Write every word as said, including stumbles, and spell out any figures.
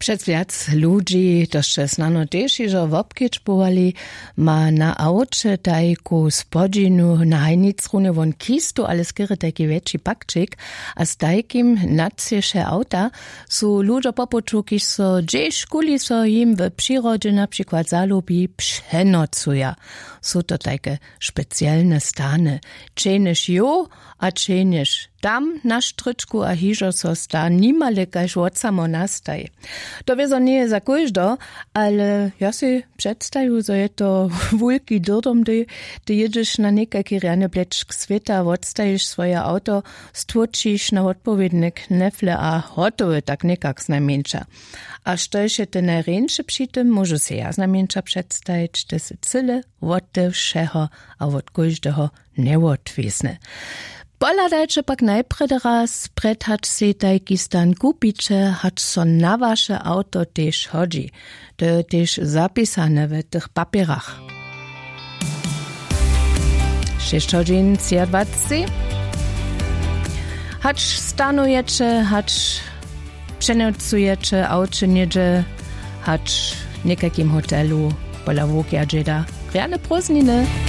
Přez wjac ludźi to sće snano tež hižo wobkedźbowali, ma na awče tajku spodźinu na hajnicrunje won kistu ale skerje tajki wjetši pakčik. A z tajkim nadsyše awta su ludźo po puću kiž so hdźež kuli so jim w přirodźe na přikład zalubi přenocuja. Su to tajke specielne stany, čehnješ jow a čehnješ tam na štrěčku a hižo so sta nimale kaž wot samo nastaj. To wězo njeje za kóždo, ale ja sej předstaju zo je to wulki dyrdom hdy ty jědźeš na někajki rjany plečk swěta wotstajiš swoje awto, stłóčiš na wotpowědne knefle a hotowy tak někak znajmjeńša. A štož je te najrjeńše při tym móžu sej ja znajmjeńša předstajić te sy cyle wot te wšeho a wot kóždeho njewotwězne. Pohladajće pak najprjedy raz prjed hač sej tajki stan kupiće hač so na waše awto tež hodźi. To je tež zapisane w tych papjerach. Šěsć hodźin třiadwaceći. Hač stanojeće hač přenocujeć awče něhdźe hač w někajkim hotelu pola wukja dźeda rjane prózdniny.